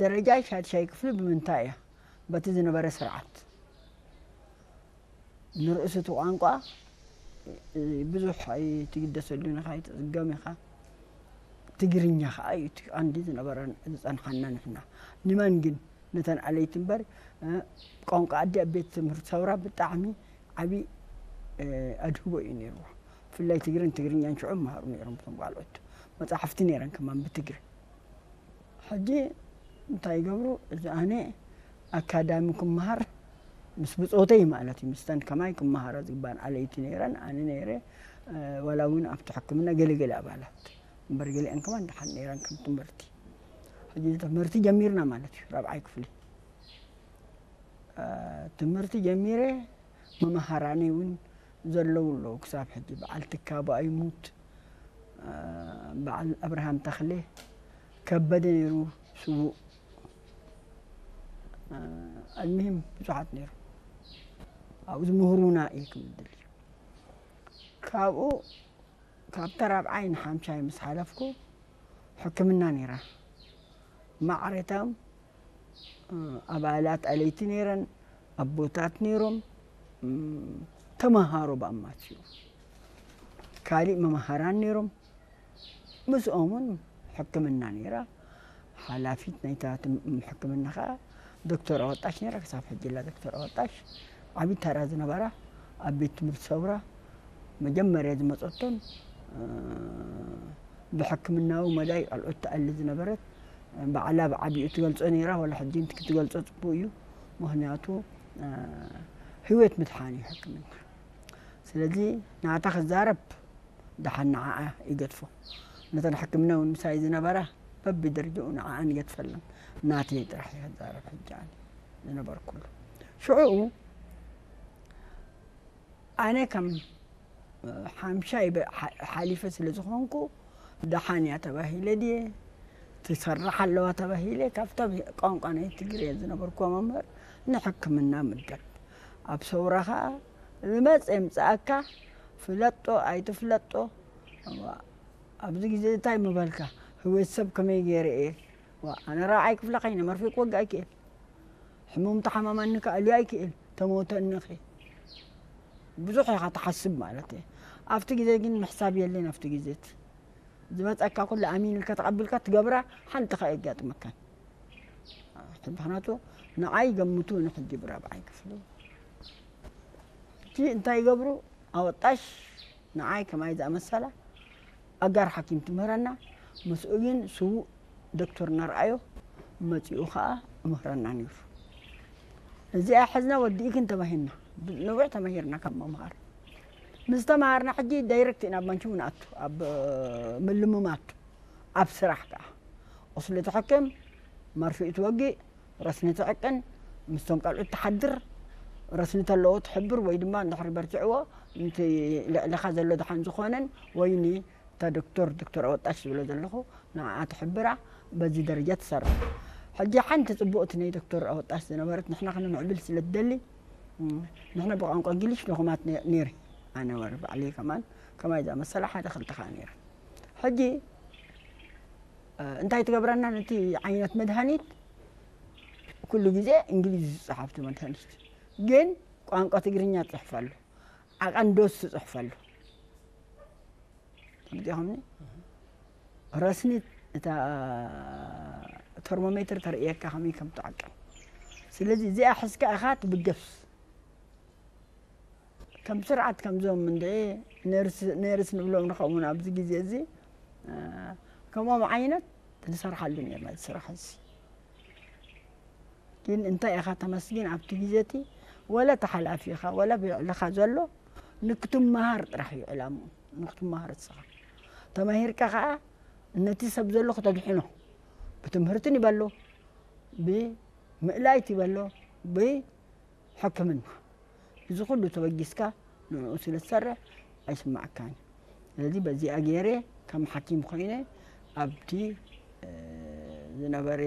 ደረጃ ሻድሻይ ክፍሊ ብምንታይ እያ? በቲ ዝነበረ ስርዓት። ንርእሱ እቲ ቋንቋ ብዙሕ ኣይትግደሰሉን ኢኻ፣ ኣይትጽገም ኢኻ። ትግርኛ ኸኣ እዩ እቲ ቀንዲ ዝነበረን ዝጸንሓና ንሕና። ንመን ግን? ነተን ኣለይቲ እምበር፣ እ፣ ቋንቋ ኣዲ ኣብ ቤት ትምህርቲ ሰውራ ብጣዕሚ ዓቢ፣ እ፣ ኣድህቦ እዩ ነይርዎ። ብፍላይ ትግርን ትግርኛን ሽዑ ይመሃሩ ነይሮም እቶም ቃልኦት። መጻሕፍቲ ነይረን ከማን ብትግሪ። ሕጂ እንታይ ይገብሩ? እዚ ኣነ ኣካዳሚ ክመሃር ምስ ብጾተይ ማለት እዩ፣ ምስተን ከማይ ክመሃራ ዝግባን ኣለይቲ ነይረን፣ ኣነ ነይረ፣ እ፣ ዋላ እውን ኣብቲ ሕክምና ገለገለ ኣባላት እምበር፣ ገሊአን ከማን ደሓን ነይረን ከም ትምህርቲ። ሕጂ ትምህርቲ ጀሚርና ማለት እዩ፣ ራብዓይ ክፍሊ። እ፣ ትምህርቲ ጀሚረ፣ መምሃራነይ እውን ዘለዉ ኣለዉ ክሳብ ሕጂ። በዓል ትካቦ ኣይሙት፣ እ፣ በዓል ኣብርሃም ተኽለ፣ ከበደ ነይሩ ስዉእ። እ፣ ኣልምሂም ብዙሓት ነይሩ። ኣብኡ ዝምህሩና እየ ክብል ደልዩ። ካብኡ ካብ ተራብዓይ ንሓምሻይ ምስ ሓለፍኩ ሕክምና ነይራ። ማዕረታም፣ እ፣ ኣባላት ኣለይቲ ነይረን፣ ኣቦታት ነይሮም፣ እም፣ ተመሃሮ ብኣማትኡ። ካሊእ መምሃራን ነይሮም። ምስኦም እውን ሕክምና ነይራ። ሓላፊት ናይታ ትም-፣ ሕክምና ኸኣ ዶክተር ኣወጣሽ ነይራ። ክሳብ ሕጂ ላ ዶክተር ኣወጣሽ ዓቢ ተራ ዝነበራ ኣብ ቤት ትምህርቲ ሰውራ መጀመርያ ዝመጸቶም፣ እ፣ ብሕክምናዊ መዳይ ቆልዑት ትኣሊ ዝነበረት፣ ባዕላ ብዓቢኡ ትገልጾ ነይራ። ወላ ሕጂ እንት-፣ ክትገልጾ ጽቡቕ እዩ። ምኽንያቱ፣ እ፣ ህይወት ምድሓን እዩ ሕክምና። ስለዚ ናታ ክዛረብ ደሓን ንዓኣ ይገድፎ። ነተን ሕክምና እውን ምሳይ ዝነበራ በብደረጃኡ ንዓኣን ይገድፈለን። ናተይ ጥራሕ እየ ክዛረብ ሕጂ ኣነ ዝነበርኩሉ። ሽዑኡ ኣነ ከም ሓምሻይ በ-፣ ሓ-፣ ሓሊፈ ስለ ዝኾንኩ ደሓን እያ ተባሂለ ድየ ትሰርሕ ኣለዋ ተባሂለ ካብቶም ቋንቋ ናይ ትግርየ ዝነበርኩዎ መምህር ንሕክምና ምድብ ኣብ ሰውራ ኸኣ ዝመጸ የምጽኣካ ፍለጦ ኣይትፍለጦ። እዋ፣ ኣብዚ ግዜ እንታይ ምበልካ? ህይወት ሰብ ከመይ ገይረ እየ? ዋ፣ ኣነ ራብዓይ ክፍለ ከይነ መርፌ ክወግእ ኣይክእል። ሕሙም ተሓማማኒ ክኣልዮ ኣይክእል። ተመውተኒ ኸ? ብዙሕ ኢኻ ትሓስብ ማለት እየ። ኣብቲ ግዜ ግን ምሕሳብ የለን። ኣብቲ ግዜ እቲ ዝመጸካ ኩሉ ኣሚን ኢልካ ተቐቢልካ ትገብራ ሓንቲ ኸ የጋጥመካን። ምኽንያቱ ንዓይ ገምቱ ንሕጂ ብራብዓይ ክፍሊ። እቲ እንታይ ይገብሩ? ኣወጣሽ ንዓይ ከማይ ዝኣመሰላ ኣጋር ሓኪም ትምህረና። ምስኡ ግን ስዉእ ዶክተር ነርኣዮ መጺኡ ኸኣ እምህረና ነይሩ። እዚኣ ሕዝና ወዲእክን ተባሂልና። ነዊሕ ተማሂርና ካብ ምምሃር። ምስ ተማሃርና ሕጂ ዳይሬክት ኢና ኣብ ማንቹ ንኣቱ፣ ኣብ ምልምማድ፣ ኣብ ስራሕ ከኣ። ቁስሊ ትሕክም፣ መርፍእ ትወግእ፣ ረስኒ ትዕቅን፣ ምስቶም ቀልዑት ትሓድር፣ ረስኒ ተለዎ ትሕብር ወይ ድማ እንድሕሪ በርቲዕዎ፣ ነቲ ልዕሊኻ ዘሎ ደሓን ዝኾነን ወይ ንታ ዶክተር፣ ዶክተር ኣወጣሽ ዝብሎ ዘለኹ፣ ንዓኣ ትሕብራ፣ በዚ ደረጃ ትሰርሕ። ሕጂ ሓንቲ ጽቡቕቲ ናይ ዶክተር ኣወጣሽ ዝነበረት ንሕና ክንምዕብል ስለ ትደሊ፣ እም፣ ንሕና ብቋንቋ እንግሊሽ ንኹማት ነ-፣ ነይረ። ኣነ ወር ባዕለይ ከማን ከማይ ዝኣመሰላ ሓደ ክልተ ከኣ ነይረ። ሕጂ፣ እ፣ እንታይ ትገብረና ነቲ ዓይነት መድሃኒት? ኩሉ ግዜ እንግሊዝ ዝጸሓፍቲ መድሃኒት። ግን ቋንቋ ትግርኛ ትጽሕፍ ኣሎ። ዓቐን ዶስ ትጽሕፍ ኣሎ። ተመጺእኹምኒ? ረስኒ እታ ተርሞሜትር ተርእየካ ከመይ ከም ትዓቅን። ስለዚ እዚኣ ሒዝካ ኢኻ ትብገስ። ከም ስርዓት ከምዞም እንድዒ ነርስ፣ ነርስ ንብሎም ንኸውን ኣብዚ ግዜ እዚ፣ እ፣ ከምኦም ዓይነት ንሰርሓሉ ነርና እዚ ስራሕ እዚ። ግን እንታይ ኢኻ ተመስግን ኣብቲ ግዜ እቲ ወላ እቲ ሓላፊኻ ወላ ብልዕልኻ ዘሎ ንክትመሃር ጥራሕ እዩ ዕላምኡ፣ ንክትመሃር እስኻ። ተማሂርካ ኸኣ ነቲ ሰብ ዘሎ ክተድሕኖ ብትምህርትን ይበሎ፣ ብምእላይት ይበሎ፣ ብ ሕክምና። እዚ ኩሉ ተበጊስካ ንዕኡ ስለ ትሰርሕ ኣይስማዓካን እዩ። ስለዚ በዚኣ ገይረ ከም ሓኪም ኮይነ ኣብቲ፣ እ፣ ዝነበረ፣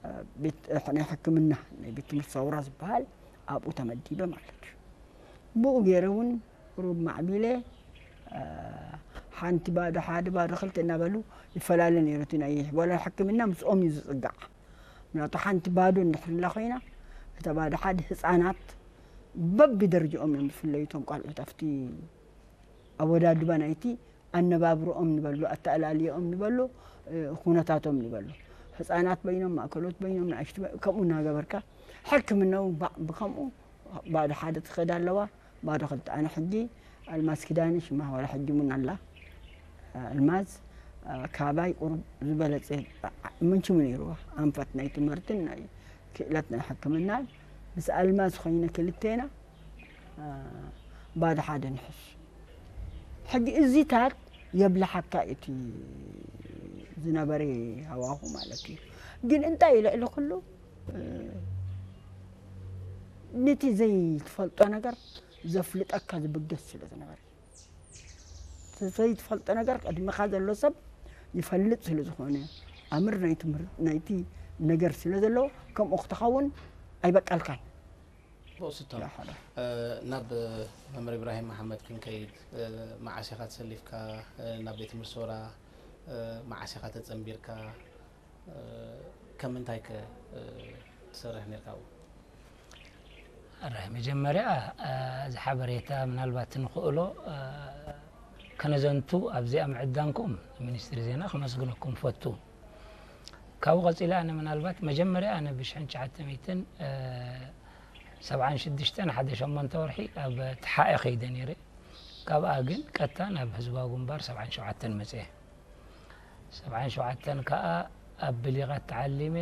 እ፣ ቤት፣ እ፣ ናይ ሕክምና ናይ ቤት ትምህርቲ ሰውራ ዝበሃል ኣብኡ ተመዲበ ማለት እዩ። ብኡ ገይረ እውን ቁሩብ ማዕቢለ፣ እ፣ ሓንቲ ባዶ ሓደ ባዶ ክልተ እናበሉ ይፈላለ ነይሩ እቲ ናይ ዋላ ሕክምና ምስኦም እዩ ዝፅጋዕ። ምክንያቱ ሓንቲ ባዶ እንድሕር ላ ኮይና እታ ባዶ ሓደ ህፃናት በቢ ደረጃኦም እዮም ዝፍለዩ እቶም ቆልዑት ኣብቲ ኣወዳድባ ናይቲ ኣነባብርኦም ንበሎ ኣተኣላልየኦም ንበሎ ኩነታቶም ንበሎ ህፃናት በይኖም ማእከሎት በይኖም ንኣሽቱ ከምኡ እናገበርካ ሕክምናው ብከምኡ ባዶ ሓደ ትኸዳ ኣለዋ። ባዶ ክልተ ኣነ ሕጂ ኣልማዝ ኪዳነ ሽማ ዋላ ሕጂ እውን ኣላ። ኣልማዝ ካባይ ቁሩብ ዝበለፀ ምንችሙ ነይርዋ ኣንፈት ናይ ትምህርትን ናይ ክእለት ናይ ሕክምናን ምስ ኣልማዝ ኮይነ ክልቴና ባዶ ሓደ ንሕስ ሕጂ እዚታት የብልሓካ እቲ ዝነበረ ሃዋሁ ማለት እዩ። ግን እንታይ ልዕሊ ኩሉ ነቲ ዘይትፈልጦ ነገር ዘፍልጠካ ዝብገስ ስለ ዝነበረ ዘይትፈልጦ ነገር ቅድሚኻ ዘሎ ሰብ ይፈልጥ ስለ ዝኾነ ኣምር ናይ ትምህርቲ ናይቲ ነገር ስለ ዘለዎ ከምኡ ክትኸውን ኣይበቃልካን። ብቕስቶም ናብ መምህር ኢብራሂም መሓመድ ክንከይድ፣ መዓስ ኢኻ ተሰሊፍካ ናብ ቤት ትምህርቲ ሶራ? መዓስ ኢኻ ተጸንቢርካ? ከም እንታይ ከ ትሰርሕ ነርካ ኣብኡ? ኣራይ መጀመርያ እዚ ሓበሬታ ምናልባት ንኽእሎ ከነዘንቱ ኣብዚኣ ምዕዳንኩም ሚኒስትሪ ዜና ከመስግነኩም ፈቱ። ካብኡ ቀፂለ ኣነ ምናልባት መጀመርያ ኣነ ብሽሕን ትሽዓተ ሚእትን ሰብዓን ሽዱሽተን ሓደ ሸሞንተ ወርሒ ኣብ ተሓኤ ከይደ ነይረ። ካብኣ ግን ቀጥታ ናብ ህዝባዊ ግንባር ሰብዓን ሸውዓተን መፅየ። ሰብዓን ሸውዓተን ከዓ ኣብ ብሊቓት ተዓሊመ፣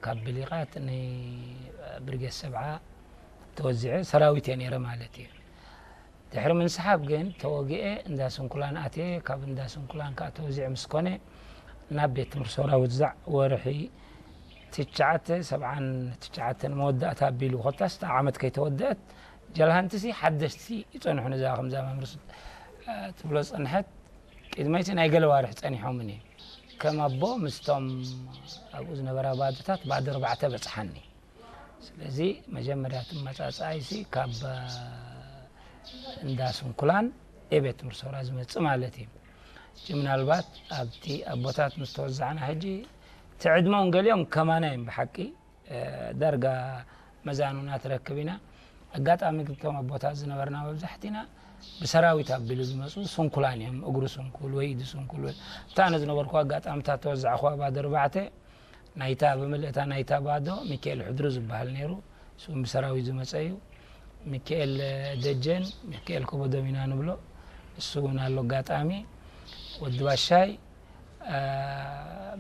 ካብ ብሊቓት ንብርጌድ ሰብዓ ተወዚዐ ሰራዊት እየ ነይረ ማለት እዩ። ድሕሪ ምንስሓብ ግን ተወጊኤ እንዳ ስንኩላን ኣትየ፣ ካብ እንዳ ስንኩላን ከዓ ተወዚዐ ምስ ኮነ ናብ ቤት ትምህርቲ ሰራዊት ዛዕ ወርሒ ትሽዓተ ሰብዓን ትሽዓተን መወዳእታ ኣቢሉ ኮታስ እታ ዓመት ከይተወደአት ጀልሃንትሲ ሓደሽቲ ይፀንሑ ነዛ ከምዛ መምህር ትብሎ ፀንሐት ቅድመይቲ ናይ ገለ ዋርሕ ፀኒሖምን እዩ ከም ኣቦ ምስቶም ኣብኡ ዝነበራ ባዶታት ባዶ ኣርባዕተ በፅሓኒ። ስለዚ መጀመርያ እቲ መፃፅኣይሲ ካብ እንዳ ስንኩላን የቤት ትምህርቲ ሰውራ ዝመፅእ ማለት እዩ። ሕጂ ምናልባት ኣብቲ ኣቦታት ምስ ተወዛዕና ሕጂ እቲ ዕድመውን ገሊኦም ከማና እዮም ብሓቂ ዳርጋ መዛኑና ትረክብ ኢና። ኣጋጣሚ ግብቶም ኣቦታት ዝነበርና መብዛሕቲና ብሰራዊት ኣቢሉ ዝመፁ ስንኩላን እዮም። እግሩ ስንኩል ወይ ኢዱ ስንኩል ወይ እታ ኣነ ዝነበርኩ ኣጋጣምታት ተወዛዕኹዋ ባዶ ኣርባዕተ ናይታ ብምልእታ ናይታ ባዶ ሚካኤል ሕድሩ ዝበሃል ነይሩ። እሱ እውን ብሰራዊት ዝመፀ እዩ። ሚካኤል ደጀን ሚካኤል ከበዶም ኢና ንብሎ። እሱ እውን ኣሎ ኣጋጣሚ ወዲ ባሻይ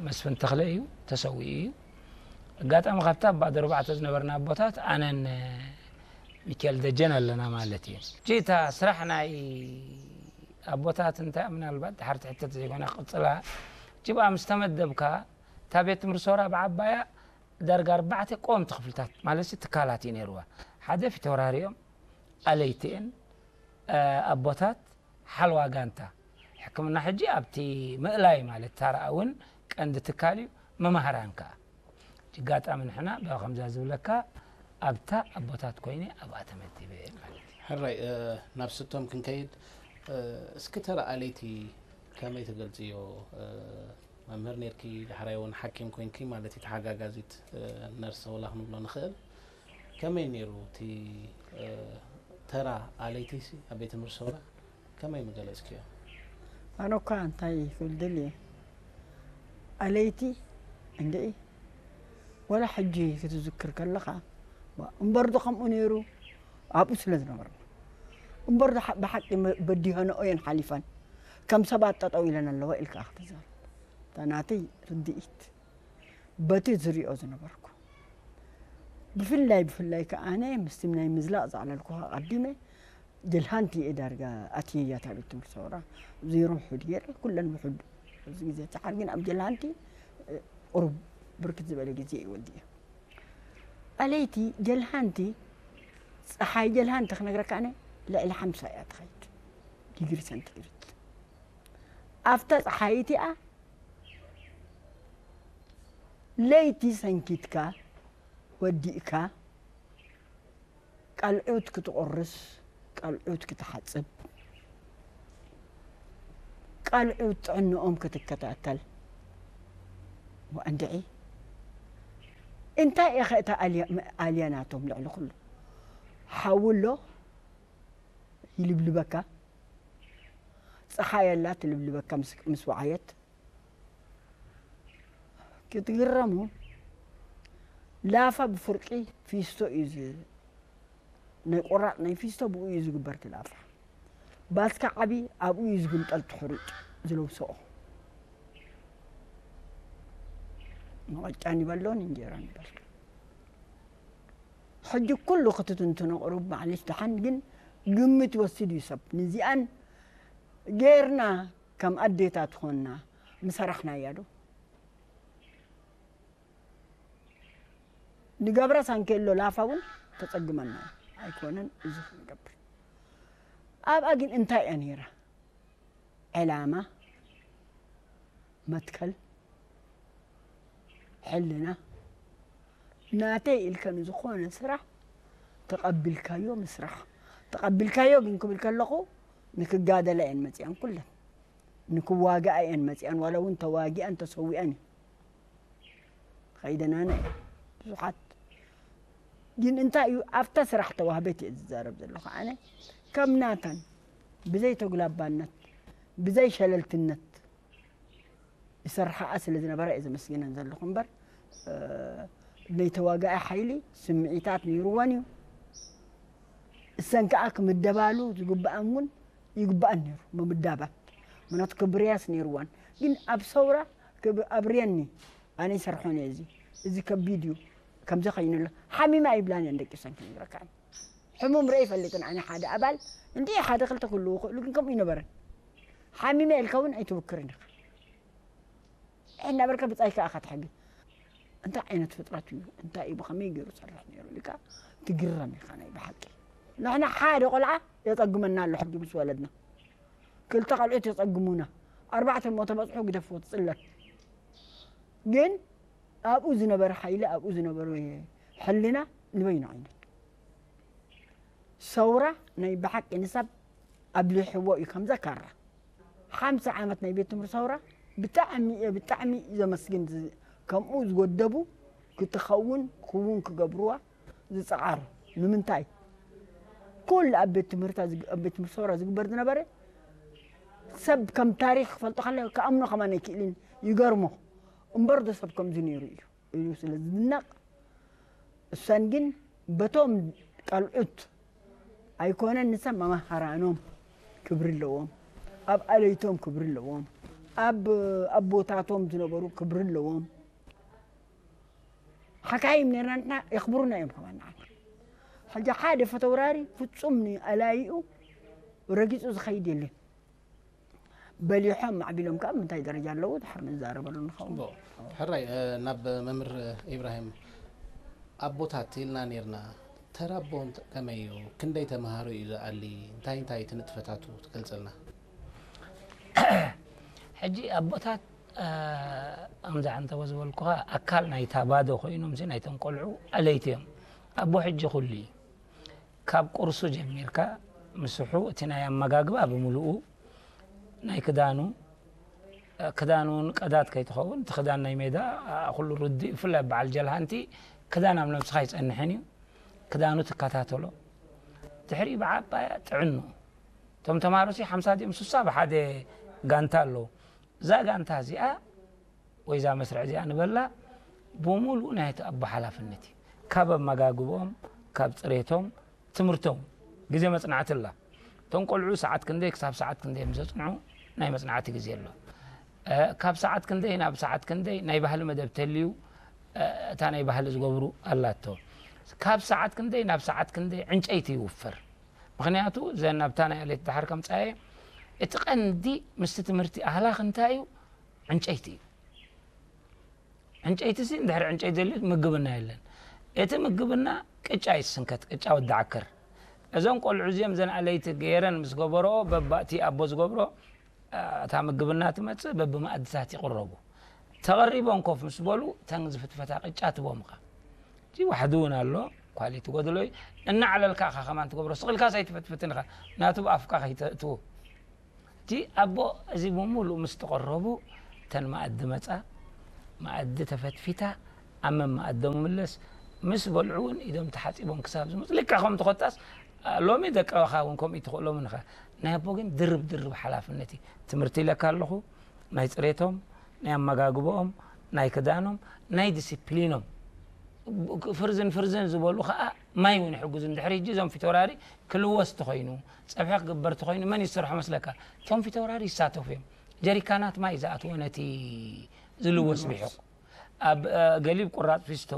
መስፍን ተኽለ እዩ ተሰዊኡ እዩ። ኣጋጣሚ ካብታ ኣብ ባዶ ኣርባዕተ ዝነበርና ኣቦታት ኣነን ሚካኤል ደጀን ኣለና ማለት እዩ። እጂ እታ ስራሕ ናይ ኣቦታት እንታይ ምናልባት ድሓር ትሕተት ዘይኮነ ክቕፅላ እጂ ብኣ ምስ ተመደብካ እታ ቤት ትምህርቲ ሶራ ብዓባያ ዳርጋ ኣርባዕተ ቀወምቲ ክፍልታት ማለት ትካላት እዩ ነይርዋ። ሓደ ፊተውራሪ እዮም ኣለይቲ እየን ኣቦታት ሓልዋ ጋንታ ሕክምና ሕጂ ኣብቲ ምእላይ ማለት ታራ እውን ቀንዲ ትካል እዩ። መማህራን ከዓ ኣጋጣሚ ንሕና ብኣ ከምዛ ዝብለካ ኣብታ ኣቦታት ኮይነ ኣብኣ ተመዲበ ማለት እዩ። ሕራይ ናብ ስቶም ክንከይድ እስኪ ተራ ኣለይቲ ከመይ ትገልፅዮ? መምህር ነርኪ ዳሕራይ እውን ሓኪም ኮንኪ ማለት እዩ ተሓጋጋዚት ነርሰ ወላ ክንብሎ ንኽእል። ከመይ ነይሩ እቲ ተራ ኣለይቲ ኣብ ቤት ትምህርቲ ሰውራ ከመይ ምገለፅክዮ? ኣነ እኳ እንታይ ክብል ደልየ ኣለይቲ እንድዒ ወላ ሕጂ ክትዝክር ከለኻ እምበር ዶ ከምኡ ነይሩ ኣብኡ ስለ ዝነበርና እምበር ብሓቂ በዲሆነኦ እየን ሓሊፈን ከም ሰባት ጠጠው ኢለን ኣለዋ ኢልካ ክትዛረብ እታ ናተይ ርድኢት በቲ ዝሪኦ ዝነበርኩ ብፍላይ ብፍላይ ከዓነ ምስቲ ናይ ምዝላቕ ዘዕለልኩኻ ኣቐዲመ ጀልሃንቲ እየ ዳርጋ ኣትየያ እታ ቤት ትምህርቲ ሰውራ ዜሮ ውሑድ ገይረ ኩለን ውሑድ ኣብዚ ግዜ ጨሓር ግን ኣብ ጀልሃንቲ ቁሩብ ብርክት ዝበለ ግዜ እዩ ወዲኡ ኣለይቲ ጀልሃንቲ ፀሓይ ጀልሃንቲ ክነግረካ ኣነ ልዕሊ ሓምሳ እያ ትኸይድ ዲግሪ ሰንቲግሬድ ኣብታ ፀሓይ እቲኣ ለይቲ ሰንኪትካ ወዲእካ ቃልዑት ክትቆርስ ቃልዑት ክትሓፅብ ኣልዑ ጥዕንኦም ክትከታተል። ወኣንድዒ እንታይ ኢኸ እታ ኣልያ ናቶም ልዕሊ ኩሉ? ሓዊ ኣሎ ይልብልበካ፣ ጸሓይ ኣላ ትልብልበካ ምስ ወዓየት። ክትግረሙ፣ ላፋ ብፍርቂ ፊስቶ እዩ፣ ናይ ቆራጥ ናይ ፊስቶ ብኡ እዩ ዝግበር። ትላፋ ባስካ ዓቢ ኣብኡ እዩ ዝግንጠል፣ ትሕሩጭ ዝለብሶኦ። መቐጫን ይበሎን እንጀራን ይበልካ። ሕጂ ኩሉ ክትትንትኖ ቅሩብ ማዕሊሽ ደሓን፣ ግን ግምት ይወስድ እዩ ሰብ። ንዚኣን ጌርና ከም ኣዴታት ኾንና ምሰራሕናያ ዶ? ንገብራ ሳንኬሎ ላፋ እውን ተጸግመና ኣይኮነን። እዚ ክንገብር ኣብኣ ግን እንታይ እያ ነይራ? ዕላማ፣ መትከል፣ ሕልና፣ ናተይ ኢልከ ንዝኾነ ስራሕ ተቐቢልካዮ ምስራሕ። ተቐቢልካዮ ግን ክብል ከለኹ ንክጋደላ እየን መፂኣን ኩለን። ንክዋግኣ እየን መፂኣን፣ ዋላ እውን ተዋጊኣን ተሰዊኣን እዩ። ከይደናነ እየ ብዙሓት። ግን እንታይ እዩ ኣብታ ስራሕ ተዋህበት እየ ዝዛረብ ዘለኹ ኣነ። ከም ናተን ብዘይ ተጉላባነት፣ ብዘይ ሸለልትነት ይሰርሓኣ ስለ ዝነበራ እየ ዘመስግነን ዘለኹ እምበር፣ እ፣ ናይ ተዋጋኢ ሓይሊ ስምዒታት ነይርወን እዩ። እሰን ከኣ ክምደባሉ ዝግብኣን እውን ይግብኣን ነይሩ፣ ምምዳባት። ምክንያቱ ክብርያስ ነይርወን። ግን ኣብ ሰውራ ክብ-፣ ኣብርየኒ፣ ኣነ ይሰርሖን እየ እዚ፣ እዚ ከቢድ እዩ፣ ከምዚ ኸይኑ ኣሎ። ሓሚማ ይብላን እየን ደቂ ሰን ክነግረካ። ሕሙም ርአ ይፈልጥን ኣነ ሓደ ኣባል፣ እንዲ ሓደ ክልተ ክህልዉ ይኽእሉ፣ ግን ከምኡ ይነበረን። ሓሚመ ኢልካ እውን ኣይትብክርን ኢኻ። እናበልካ ብጻይካ ኢኻ ትሕግዝ። እንታይ ዓይነት ፍጥረት እዩ? እንታይ እዩ? ብኸመይ ገይሩ ሰርሕ ነይሩ? ኢልካ ትግረም ኢኻ ናይ ብሓቂ። ንሕና ሓደ ቆልዓ የጸግመና ኣሎ ሕጂ ምስ ወለድና። ክልተ ቆልዑት የጸግሙና። ኣርባዕተ እሞ ተበጽሑ ግደፍዎ ትጽለል። ግን ኣብኡ ዝነበረ ሓይሊ፣ ኣብኡ ዝነበረ ሕልና ንበይኑ ዓይነት። ሰውራ ናይ ብሓቂ ንሰብ ኣብሊሕዎ እዩ ከምዛ ካራ። ሓምሳ ዓመት ናይ ቤት ትምህርቲ ሰውራ ብጣዕሚ እየ፣ ብጣዕሚ ዘመስግን። ዝ-፣ ከምኡ ዝወደቡ ክትኸውን ክውን ክገብርዋ ዝጸዓሩ። ንምንታይ? ኩሉ ኣብ ቤት ትምህርታ ዝግ-፣ ኣብ ቤት ትምህርቲ ሰውራ ዝግበር ዝነበረ ሰብ ከም ታሪኽ ክፈልጦ ከለ ክኣምኖ ከማን ኣይክእልን። ይገርሞ። እምበር ዶ ሰብ ከምዚ ነይሩ እዩ ኢሉ ስለ ዝድነቕ፣ እሰን ግን በቶም ቀልዑት ኣይኮነን፣ ንሰብ መማህራኖም ክብሪ ኣለዎም፣ ኣብ ኣለይቶም ክብሪ ኣለዎም፣ ኣብ ኣቦታቶም ዝነበሩ ክብሪ ኣለዎም። ሓካይም ነርና ንሕና የኽብሩና እዮም ከማን ንዓና። ሕጂ ሓደ ፈተውራሪ ፍጹም ንኣላይኡ ረጊጹ ዝኸይድ የለን። በሊሖም ማዕቢሎም ከኣ ምንታይ ደረጃ ኣለዉ ድሓር ንዛረበሉ ንኸውን። ጽቡቕ። ሕራይ፣ እ፣ ናብ መምህር ኢብራሂም፣ ኣቦታት ኢልና ኔርና። ተራ ኣቦ እንተ-፣ ከመይ እዩ? ክንደይ ተምሃሮ እዩ ዝኣሊ? እንታይ እንታይ እቲ ንጥፈታቱ ትገልጸልና? ሕጂ ኣቦታት፣ እ፣ ኣምዛ ዓንተቦ ዝበልኩኻ ኣካል ናይታ ባዶ ኮይኖም ሲ ናይቶም ቆልዑ ኣለይቲ እዮም። ኣቦ ሕጂ ኩሉ እዩ። ካብ ቁርሱ ጀሚርካ ምስሑ፣ እቲ ናይ ኣመጋግባ ብምሉኡ፣ ናይ ክዳኑ፣ ክዳን እውን ቀዳድ ከይትኸውን፣ እቲ ክዳን ናይ ሜዳ፣ ኩሉ ርዱእ፣ ብፍላይ በዓል ጀልሃንቲ ክዳን ኣብ ነብስኻ ኣይጸንሕን እዩ። ክዳኑ ትከታተሎ። ድሕሪኡ ብዓባያ ጥዕንኡ። እቶም ተምሃሮሲ ሓምሳ ድዮም ስሳ ብሓደ ጋንታ ኣለዉ። እዛ ጋንታ እዚኣ ወይ እዛ መስርዕ እዚኣ ንበላ ብምሉኡ ናይ እቲ ኣቦ ሓላፍነት እዩ። ካብ ኣመጋግቦም፣ ካብ ጽሬቶም፣ ትምህርቶም፣ ግዜ መጽናዕቲ ኣላ። እቶም ቆልዑ ሰዓት ክንደይ ክሳብ ሰዓት ክንደይ ምስ ዘጽንዑ ናይ መጽናዕቲ ግዜ ኣሎ። እ፣ ካብ ሰዓት ክንደይ ናብ ሰዓት ክንደይ ናይ ባህሊ መደብ ተልዩ፣ እ፣ እታ ናይ ባህሊ ዝገብሩ ኣላቶ። ካብ ሰዓት ክንደይ ናብ ሰዓት ክንደይ ዕንጨይቲ ይውፈር። ምኽንያቱ እዘን ናብታ ናይ ኣሌት ድሓር ከምጻየ እቲ ቀንዲ ምስቲ ትምህርቲ ኣህላኽ እንታይ እዩ? ዕንጨይቲ እዩ። ዕንጨይቲሲ እንድሕር ዕንጨይቲ ዘልዩት ምግብና የለን። እቲ ምግብና ቅጫ ይስንከት፣ ቅጫ ወዲ ዓከር። እዞም ቆልዑ እዚኦም ዘን ኣለይቲ ገይረን ምስ ገበርኦ፣ በባእቲ ኣቦ ዝገብሮ፣ እ፣ እታ ምግብና ትመጽእ፣ በብመኣድታት ይቕረቡ። ተቐሪቦም ኮፍ ምስ በሉ፣ ተን ዝፍትፈታ ቅጫ ትቦምኻ። እቲ ዋሕዲ እውን ኣሎ፣ ኳሊቲ ጎደሎ እዩ። እናዕለልካ ኢኻ ከማን ትገብሮ፣ ስቕ ኢልካስ ኣይትፈትፍትን ኢኻ፣ ናቱ ብኣፍካ ከይተእትዎ። እቲ ኣቦ እዚ ብምሉእ ምስ ተቐረቡ፣ እተን መኣዲ መጻ፣ መኣዲ ተፈትፊታ፣ ኣብ መመኣዶም ምለስ፣ ምስ በልዑ እውን ኢዶም ተሓጺቦም ክሳብ ዝመጹ፣ ልክዕ ከም ተኾታስ፣ ሎሚ ደቃውኻ እውን ከምኡ ትኽእሎም ንኸ። ናይ ኣቦ ግን ድርብ ድርብ ሓላፍነት እዩ። ትምህርቲ ኢለካ ኣለኹ፣ ናይ ጽሬቶም፣ ናይ ኣመጋግቦኦም፣ ናይ ክዳኖም፣ ናይ ዲሲፕሊኖም። ፍርዝን ፍርዝን ዝበሉ ኸኣ ማይ እውን ይሕግዙ። እንድሕሪ ሕጂ እዞም ፊተውራሪ ክልወስ ተኾይኑ፣ ጸብሒ ክግበር ተኾይኑ፣ መን ይሰርሖ መስለካ? እቶም ፊተውራሪ ይሳተፉ እዮም። ጀሪካናት ማይ ዝኣትዎ ነቲ ዝልወስ ብሒቕ። ኣብ፣ እ፣ ገሊብ ቁራጽ ፊስቶ፣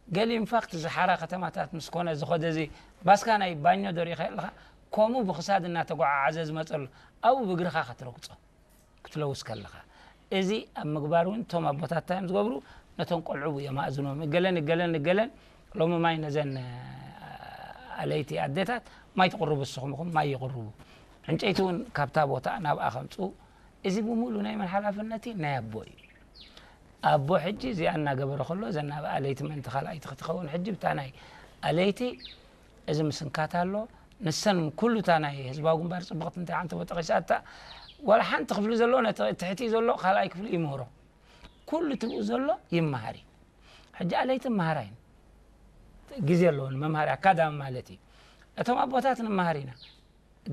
ገሊብ ኢንፋክት ዝሓራ ከተማታት ምስ ኮነ ዝኸደ እዚ ባስካ ናይ ባኞ ዶ ሪኢኻ ኣለኻ? ከምኡ ብኽሳድ እናተጓዓዓዘ ዝመጸሉ፣ ኣብኡ ብእግርኻ ክትረግጾ። ክትለውስ ከለኻ። እዚ ኣብ ምግባር እውን እቶም ኣቦታት እንታይ እዮም ዝገብሩ? ነቶም ቆልዑ የማእዝኖም። እገለን፣ እገለን፣ እገለን፣ ሎሚ ማይ ነዘን፣ እ፣ ኣለይቲ ኣዴታት ማይ ትቕርቡ፣ ንስኹም ኢኹም ማይ ይቕርቡ። ዕንጨይቲ እውን ካብታ ቦታ ናብኣ ከምጽኡ። እዚ ብምሉእ ናይ መን ሓላፍነት እዩ? ናይ ኣቦ እዩ። ኣቦ ሕጂ እዚኣ እናገበረ ከሎ፣ እዘን ኣብ ኣለይቲ ምእንቲ ካልኣይቲ ክትኸውን፣ ሕጂ ብታ ናይ ኣለይቲ እዚ ምስንካት ኣሎ። ንሰን ኩሉ እታ ናይ ህዝባዊ ግንባር ጽብቕቲ እንታይ ሓንቲ ጠቒሳታ፣ ዋላ ሓንቲ ክፍሊ ዘሎ ነቲ ትሕቲ ዘሎ ካልኣይ ክፍሊ ይምህሮ። ኩሉ ትብኡ ዘሎ ይመሃር እዩ። ሕጂ ኣለይቲ መሃራ እየን። ግዜ ኣለወን መምሃሪ ኣካዳሚ ማለት እዩ። እቶም ኣቦታት ንመሃር ኢና።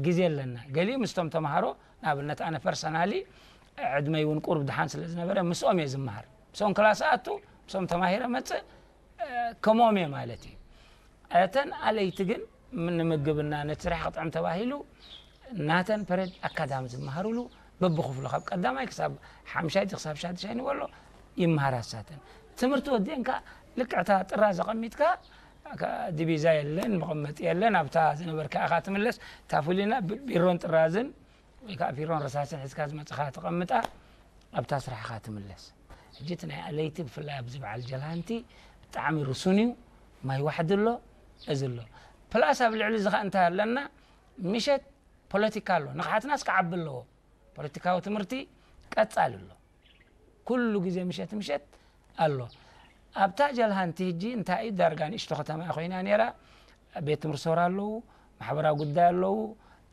ግዜ ኣለና። ገሊኡ ምስቶም ተምሃሮ፣ ንኣብነት ኣነ ፐርሰናሊ ዕድመይ እውን ቁሩብ ድሓን ስለ ዝነበረ ምስኦም እየ ዝመሃር። ምስኦም ክላስ ኣቱ፣ ምስኦም ተማሂረ መጽእ፣ እ፣ ከምኦም እየ ማለት እዩ። እተን ኣለይቲ ግን ም-፣ ንምግብና ነቲ ስራሕ ክጥዕም ተባሂሉ ናተን ፐረድ ኣካዳሚ ዝመሃሩሉ በብኽፍሉ ካብ ቀዳማይ ክሳብ ሓምሻይ ክሳብ ሻድሻይ ንበሎ ይመሃራ እሳተን። ትምህርቲ ወዲአን ከኣ ልክዕታ ጥራዝ ኣቐሚጥካ፣ ከ-፣ ዲቪዛ የለን፣ መቐመጢ የለን፣ ኣብታ ዝነበርካ ኢኻ ትምለስ። እታ ፍሉይና ብ-፣ ቢሮን ጥራዝን ወይ ከኣ ቢሮን ረሳስን ሒዝካ ዝመጽኻ ተቐምጣ፣ ኣብታ ስራሕኻ ትምለስ። ሕጂ እቲ ናይ ኣለይቲ ብፍላይ ኣብዚ በዓል ጀልሃንቲ ብጣዕሚ ርሱን እዩ። ማይ ዋሕዲ ኣሎ፣ እዚ ኣሎ። ፕላስ ኣብ ልዕሊ እዚ ኸኣ እንታይ ኣለና? ምሸት ፖለቲካ ኣሎ። ንቕሓትናስ ክዓቢ ኣለዎ። ፖለቲካዊ ትምህርቲ ቀጻሊ ኣሎ። ኩሉ ግዜ ምሸት ምሸት ኣሎ። ኣብታ ጀልሃንቲ ሕጂ እንታይ እዩ፣ ዳርጋ ንእሽቶ ከተማ ኮይና ነይራ። ቤት ትምህርቲ ሰውራ ኣለዉ፣ ማሕበራዊ ጉዳይ ኣለዉ፣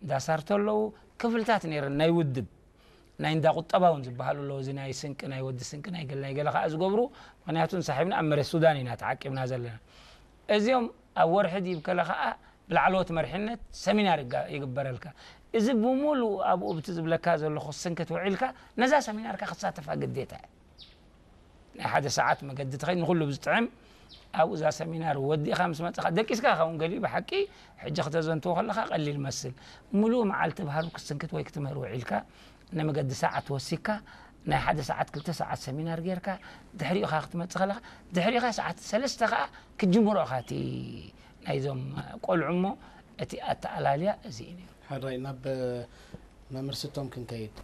እንዳ ሳርቶ ኣለዉ፣ ክፍልታት ነይረን ናይ ውድብ። ናይ እንዳ ቁጠባ እውን ዝበሃሉ ኣለዉ፣ እዚ ናይ ስንቂ፣ ናይ ወዲ ስንቂ፣ ናይ ገለ ናይ ገለ ከኣ ዝገብሩ። ምኽንያቱ ንሳሒብና ኣብ መሬት ሱዳን ኢና ተዓቂብና ዘለና። እዚኦም ኣብ ወርሒ ድዩ ከለ ከኣ ብላዕለዎት መሪሕነት ሰሚናር ይጋ-፣ ይግበረልካ። እዚ ብምሉእ ኣብኡ ብቲ ዝብለካ ዘለኹ ስንክት ውዒልካ ነዛ ሰሚናርካ ክትሳተፋ ግዴታ እዩ። ናይ ሓደ ሰዓት መገዲ ትኸይድ፣ ንኹሉ ብዝጥዕም ኣብኡ እዛ ሰሚናር ወዲእኻ ምስ መጻኻ፣ ደቂስካ ኢኻ እውን ገሊኡ ብሓቂ ሕጂ ክተዘንትዎ ከለኻ ቀሊል መስል። ምሉእ መዓልቲ ብሃሩ ክትስንክት ወይ ክትምህር ውዒልካ፣ ንመገዲ ሰዓት ወሲካ፣ ናይ ሓደ ሰዓት ክልተ ሰዓት ሰሚናር ጌርካ፣ ድሕሪኡ ኸኣ ክትመጽእ ከለኻ፣ ድሕሪኡ ኸኣ ሰዓት ሰለስተ ኸኣ ክትጅምሮ ኢኻ እቲ ናይዞም ቆልዑ እሞ፣ እቲ ኣተኣላልያ እዚ እዩ ነይሩ። ሕራይ ናብ መምህር ስቶም ክንከይድ።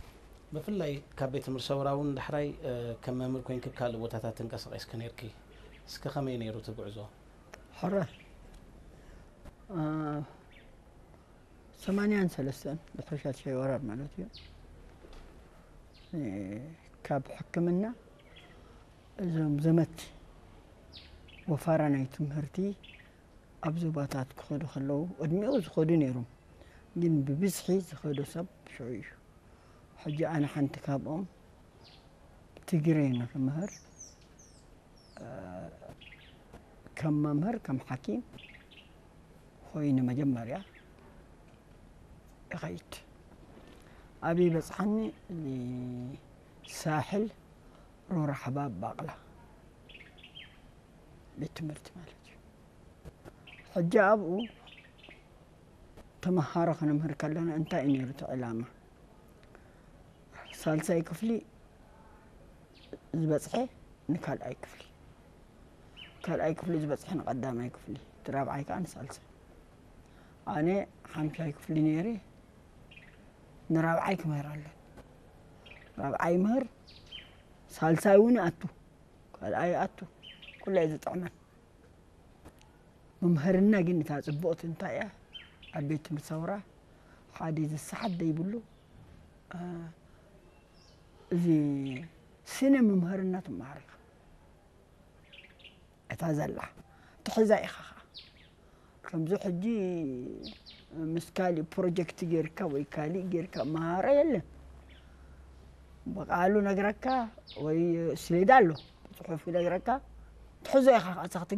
ብፍላይ ካብ ቤት ትምህርቲ ሰውራ እውን ዳሕራይ፣ እ፣ ከም መምህር ኮይንኪ ኣብ ካልእ ቦታታት ተንቀሳቒስኪ ነይርኪ። እስከ ከመይ ነይሩ እቲ ጉዕዞ? ሕራይ፣ እ፣ ሰማንያን ሰለስተን ድሕሪ ሻድሻይ ወራር ማለት እዩ። እ፣ ካብ ሕክምና እዞም ዘመት ወፋራ ናይ ትምህርቲ ኣብ ዞባታት ክኸዱ ከለዉ፣ ዕድሚኡ ዝኸዱ ነይሮም፣ ግን ብብዝሒ ዝኸዶ ሰብ ሽዑ እዩ። ሕጂ ኣነ ሓንቲ ካብኦም ትግረ ንኽምህር፣ እ፣ ከም መምህር፣ ከም ሓኪም ኾይነ መጀመርያ ይኸይድ። ኣበይ በጽሓኒ? ሳሕል ሮራ ሓባብ ባቕላ ቤት ትምህርቲ ማለት እዩ። ሕጂ ኣብኡ ተምሃሮ ከነምህር ከለና እንታይ እዩ ነይሩ እቲ ዕላማ? ሳልሳይ ክፍሊ ዝበጽሐ ንካልኣይ ክፍሊ፣ ካልኣይ ክፍሊ ዝበጽሐ ንቐዳማይ ክፍሊ፣ እቲ ራብዓይ ከኣ ንሳልሳይ። ኣነ ሓምሻይ ክፍሊ ነይረ፣ ንራብዓይ ክምህር ኣሎ። ራብዓይ ይምህር፣ ሳልሳይ እውን ኣቱ፣ ካልኣይ ኣቱ፣ ኩሉ እየ ዝጥዕመን። መምሃርና ግን እታ ጽቡቕቲ እንታይ እያ? ኣብ ቤት ትምህርቲ ሰውራ ሓደ ዝሰሓት ዘይብሉ፣ እ፣ እዚ ስነ መምሃርና ትመሃር ኢኻ። እታ ዘላ ትሕዛ ኢኻ ኸዓ። ከምዚ ሕጂ ምስ ካሊእ ፕሮጀክት ጌርካ ወይ ካሊእ ጌርካ መሃሮ የለን። ብቃሉ ነግረካ ወይ ስሌዳ ኣሎ፣ ብጽሑፍ ይነግረካ። ትሕዞ ኢኻ፣ ኣታ ክትግዲ